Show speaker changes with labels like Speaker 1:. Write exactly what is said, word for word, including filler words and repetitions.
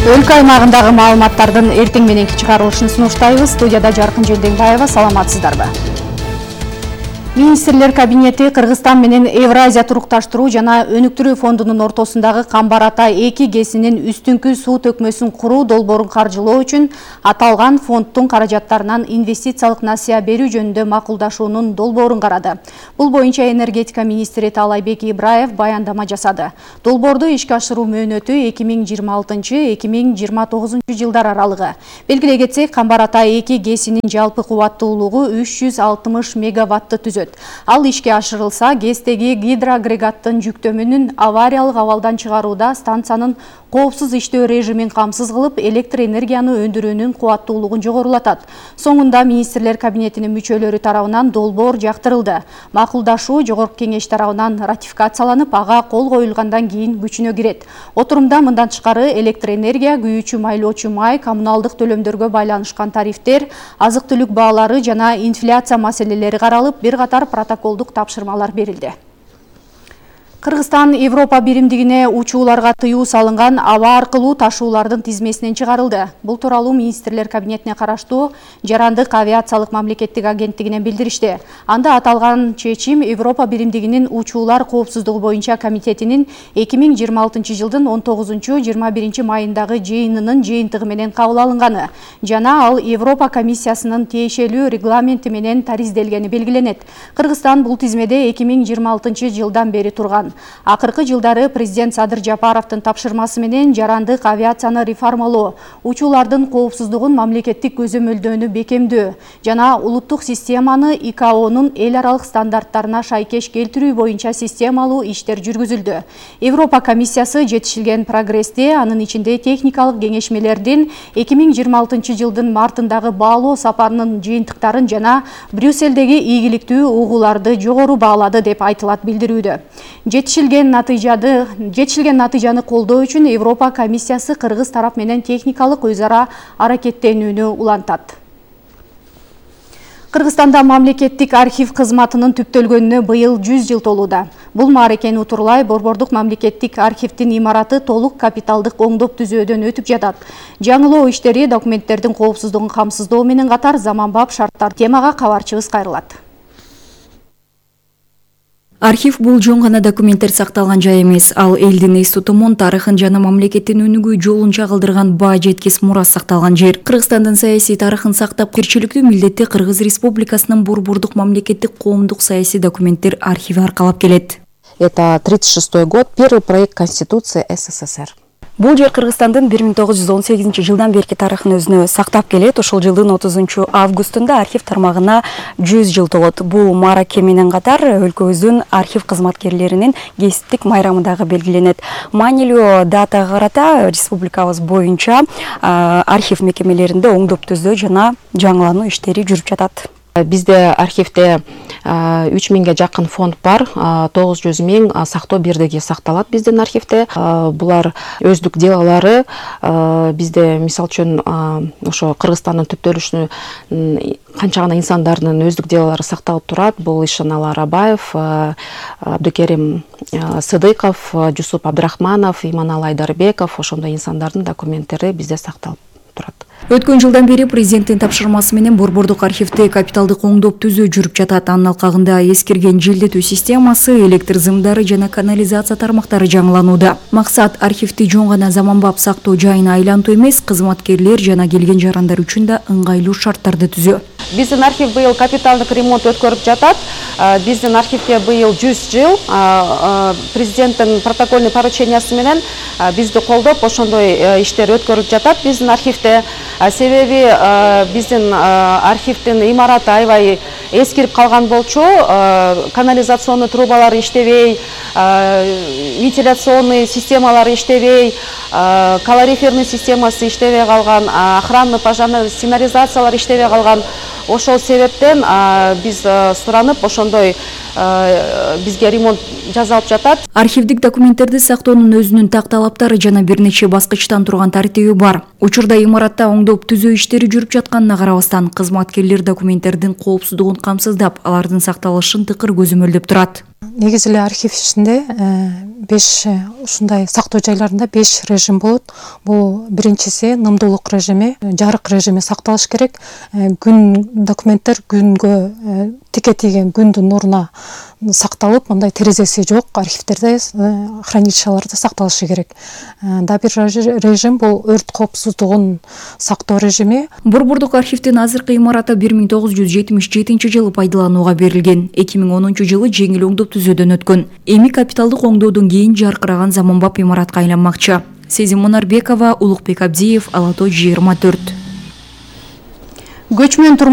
Speaker 1: Өлкө аймагындагы маалыматтардын эртең мененки чыгарылышын сунуштайбыз. Студияда Жаркын Желденбаева, саламатсыздарбы? Министрлер кабинети Кыргызстан менен Евразия турукташтыруу жана өнүктүрүү фондунун ортосундагы Камбар-Ата эки ГЭСинин үстүңкү суу төкмөсүн куруу долбоорун каржылоо үчүн аталган фонддун каражаттарынан инвестициялык насыя берүү жөнүндө макулдашуунун долбоорун карады. Бул боюнча энергетика министри Таалайбек Ибраев баяндама жасады. Долбоорду ишке ашыруу мөөнөтү эки миң жыйырма алтынчы — эки миң жыйырма тогузунчу жылдар аралыгы. Белгилей кетсек, Камбар-Ата эки ГЭСинин жалпы кубаттуулугу үч жүз алтымыш мегаватты түзөт. Ал ишке ашырылса, ГЭСтеги гидроагрегаттын жүктөмүнүн авариялык абалдан чыгарууда станциянын коопсуз иштөө режимин камсыз кылып, электр энергияны өндүрүүнүн кубаттуулугун жогорулатат. Соңунда министрлер кабинетинин мүчөлөрү тарабынан долбоор жактырылды. Макулдашуу Жогорку кеңеш тарабынан ратификацияланып, ага кол коюлгандан кийин күчүнө кирет. Отурумда мындан тышкары электр энергия, күйүүчү майлоочу май, коммуналдык төлөмдөргө байланышкан тарифтер, азык-түлүк баалары жана инфляция маселелери каралып, бир катар протоколдук тапшырмалар берилди. Кыргызстан Европа биримдигине учууларга тыюу салынган аба аркылуу ташуулардын тизмесинен чыгарылды. Бул тууралуу министрлер кабинетине караштуу Жарандык авиациялык мамлекеттик агенттигинен билдиришти. Анда аталган чечим Европа биримдигинин учуулар коопсуздугу боюнча комитетинин эки миң жыйырма алтынчы жылдын он тогузунчу — жыйырма биринчи майындагы жыйынынын жыйынтыгы менен кабыл алынганы жана ал Европа комиссиясынын тиешелүү регламенти менен таризделгени белгиленет. Кыргызстан бул тизмеде эки миң жыйырма алтынчы жылдан бери турган. Акыркы жылдары президент Садыр Жапаровдун тапшырмасы менен жарандык авиацияны реформалоо, учуулардын коопсуздугун мамлекеттик көзөмөлдөөнү бекемдөө жана улуттук системаны И К О'нун эл аралык стандарттарына шайкеш келтирүү боюнча системалуу иштер жүргүзүлдү. Европа комиссиясы жетишилген прогрессти, анын ичинде техникалык кеңешмелердин эки миң жыйырма алтынчы жылдын мартындагы баалоо сапарынын жыйынтыктарын жана Брюссельдеги ийгиликтүү угууларды жогору баалады деп айтылат билдирүүдө. Жетишилген натыйжаны жетишилген натыйжаны колдоо үчүн Европа комиссиясы кыргыз тарап менен техникалык өз ара аракеттенүүнү улантат. Кыргызстанда мамлекеттик архив кызматынын түптөлгөнүнө быйыл жүз жыл толууда. Бул мааракени утурлай Борбордук мамлекеттик архивдин имараты толук капиталдык оңдоп түзөөдөн өтүп жатат. Жаңылоо иштери документтердин коопсуздугун камсыздоо менен катар заманбап шарттар темага кабарчыбыз кайрылат.
Speaker 2: Архив бул жөн гана документтер сакталган жай эмес, ал элдин эс тутумун, тарыхын жана мамлекеттин өнүгүү жолун чагылдырган баа жеткис мурас сакталган жер. Кыргызстандын саясий тарыхын сактап, кирчиликтүү милдетти Кыргыз Республикасынын Борбордук мамлекеттик коомдук саясий документтер архиви аркалап келет.
Speaker 3: Это тридцать шестой год, первый проект Конституции С С С Р.
Speaker 2: Бул жер Кыргызстандын бир миң тогуз жүз он сегизинчи жылдан берки тарыхын өзүнө сактап келет. Ошол жылдын отузунчу августунда архив тармагына жүз жыл толот. Бул маараке менен катар өлкөбүздүн архив кызматкерлеринин кесиптик майрамындагы белгиленет. Маанилүү датага карата республикабыз боюнча архив мекемелеринде оңдоп түзөө жана жаңылануу иштери жүрүп жатат.
Speaker 3: Бизде архивде үч миңге жакын фонд бар, тогуз жүз миң сактоо бирдиги сакталат биздин архивде. Булар өздүк делолары бизде, мисалы үчүн, ошо Кыргызстандын түптөлүшүнө канча гана инсандардын өздүк делолары сакталып турат. Бул Ишаналы Арабаев, Абдыкерим Сыдыков, Жусуп Абдрахманов, Иманалы Айдарбеков, ошондой инсандардын документтери бизде сакталып турат.
Speaker 2: Өткөн жылдан бери президенттин тапшырмасы менен Борбордук архивде капиталдык оңдоп түзөө жүрүп жатат. Анын алкагында эскирген желдетүү системасы, электр зымдары жана канализация тармактары жаңыланууда. Максат архивди жөн гана заманбап сактоо жайына айлантуу эмес, кызматкерлер жана келген жарандар үчүн да ыңгайлуу шарттарды түзөө.
Speaker 3: Биздин архив быйыл капиталдык ремонт өткөрүп жатат. Биздин архивге быйыл жүз жыл. Президенттин протокольный поручениясы менен бизди колдоп, ошондой иштер өткөрүлүп жатат биздин архивде. Себеби биздин архивдин имараты аябай эскирип калган болчу, канализационный трубалар иштебей, вентиляционный системалар иштебей, калориферный системасы иштебей калган, охранный пожарный сигнализациялар иштебей калган. ошол себептен биз суранып ошондой бизге ремонт жасалып жатат.
Speaker 2: Архивдик документтерди сактоонун өзүнүн так талаптары жана бир нече баскычтан турган тартиби бар. Учурда имаратта оңдоп түзөө иштери жүрүп жатканына карабастан, кызматкерлер документтердин коопсуздугун камсыздап, алардын сакталышын тыкыр көзөмөлдөп турат.
Speaker 4: Негизи эле архив ичинде беш ушундай сактоо жайларында беш режим болот. Бул биринчиси нымдуулук режими, жарык режими сакталыш керек. Күн документтер күнгө тике тийген күндүн нуруна сакталып, мындай терезеси жок архивтерде, хранилищаларда сакталышы керек. Да бир режим бул өрт коопсуздугун сактоо режими.
Speaker 2: Борбордук архивдин азыркы имараты бир миң тогуз жүз жетимиш жетинчи жылы пайдаланууга берилген. эки миң онунчу жылы жеңил оңдоп түзөөдөн өткөн. Эми капиталдык оңдоодон кийин жаркыраган заманбап имаратка айланмакчы. Сезим Монарбекова, Улукбек Абдиев, Ала Тоо жыйырма төрт.
Speaker 1: Көчмөн турмуш